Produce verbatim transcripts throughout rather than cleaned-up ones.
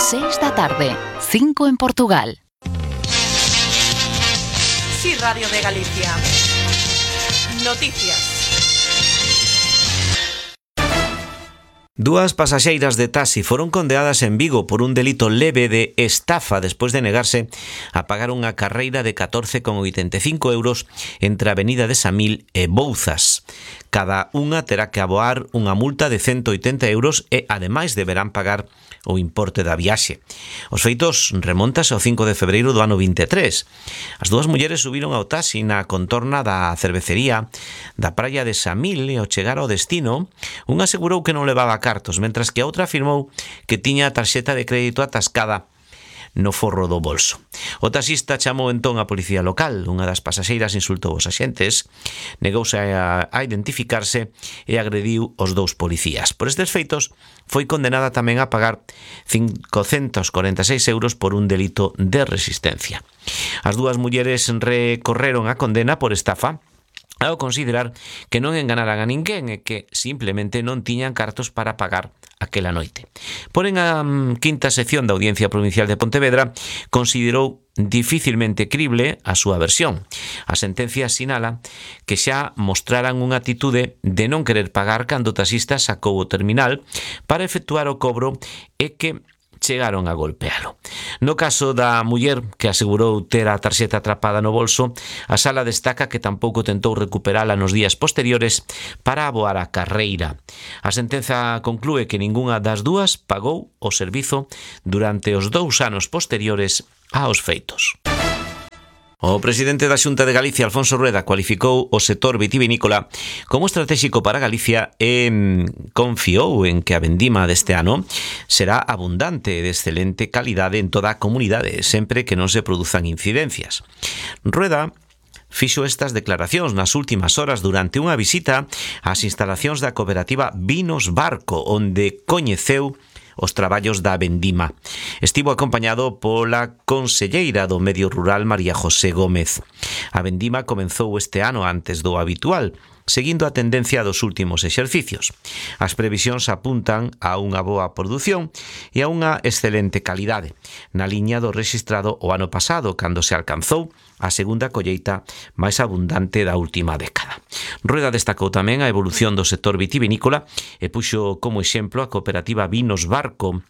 seis da tarde, cinco en Portugal. Sí, Radio de Galicia. Noticias. Dúas pasaxeiras de taxi foron condeadas en Vigo por un delito leve de estafa despois de negarse a pagar unha carreira de catorce con oitenta e cinco euros entre a Avenida de Samil e Bouzas. Cada unha terá que aboar unha multa de ciento oitenta euros e, ademais, deberán pagar o importe da viaxe. Os feitos remontase ao cinco de febreiro do ano vinte e tres. As dúas mulleres subiron ao taxi na contorna da cervecería da praia de Samil e ao chegar ao destino, unha asegurou que non levaba cartos, mentras que a outra afirmou que tiña a tarxeta de crédito atascada no forro do bolso. O taxista chamou entón a policía local. Unha das pasaxeiras insultou os axentes, negouse a, a identificarse e agrediu os dous policías. Por estes feitos, foi condenada tamén a pagar cincocentos corenta e seis euros por un delito de resistencia. As dúas mulleres recorreron a condena por estafa ao considerar que non enganaran a ninguén e que simplemente non tiñan cartos para pagar aquela noite. Porén, a quinta sección da Audiencia Provincial de Pontevedra considerou dificilmente crible a súa versión. A sentencia sinala que xa mostraran unha atitude de non querer pagar cando o taxista sacou o terminal para efectuar o cobro e que chegaron a golpealo. No caso da muller que asegurou ter a tarxeta atrapada no bolso, a sala destaca que tampouco tentou recuperala nos días posteriores para aboar a carreira. A sentenza conclúe que ningunha das dúas pagou o servizo durante os dous anos posteriores aos feitos. O presidente da Xunta de Galicia, Alfonso Rueda, cualificou o sector vitivinícola como estratégico para Galicia e confiou en que a vendima deste ano será abundante e de excelente calidade en toda a comunidade, sempre que non se produzan incidencias. Rueda fixo estas declaracións nas últimas horas durante unha visita ás instalacións da cooperativa Vinos Barco, onde coñeceu os traballos da vendima. Estivo acompañado pola conselleira do Medio Rural, María José Gómez. A vendima comenzou este ano antes do habitual, seguindo a tendencia dos últimos exercicios. As previsións apuntan a unha boa produción e a unha excelente calidade, na liña do rexistrado o ano pasado, cando se alcanzou a segunda colleita máis abundante da última década. Rueda destacou tamén a evolución do sector vitivinícola e puxo como exemplo a cooperativa Vinos Barco,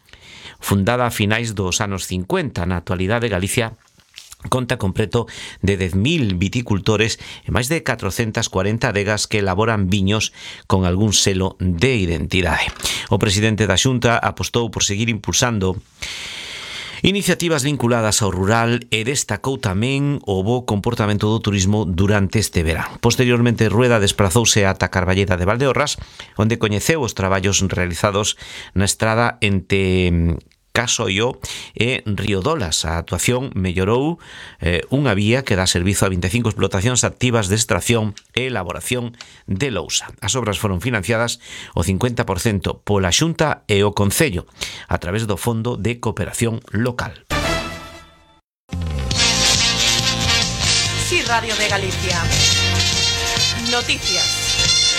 fundada a finais dos anos cincuenta. Na actualidade, Galicia conta con preto de dez mil viticultores e máis de catrocentas cuarenta adegas que elaboran viños con algún selo de identidade. O presidente da Xunta apostou por seguir impulsando iniciativas vinculadas ao rural e destacou tamén o bo comportamento do turismo durante este verán. Posteriormente, Rueda desprazouse ata Carballeda de Valdeorras, onde coñeceu os traballos realizados na estrada entre Casoio e Riodolas. A actuación mellorou eh, unha vía que dá servizo a vinte e cinco explotacións activas de extracción e elaboración de lousa. As obras foron financiadas o cincuenta por cento pola Xunta e o Concello a través do Fondo de Cooperación Local. Sí, Radio de Galicia. Noticias.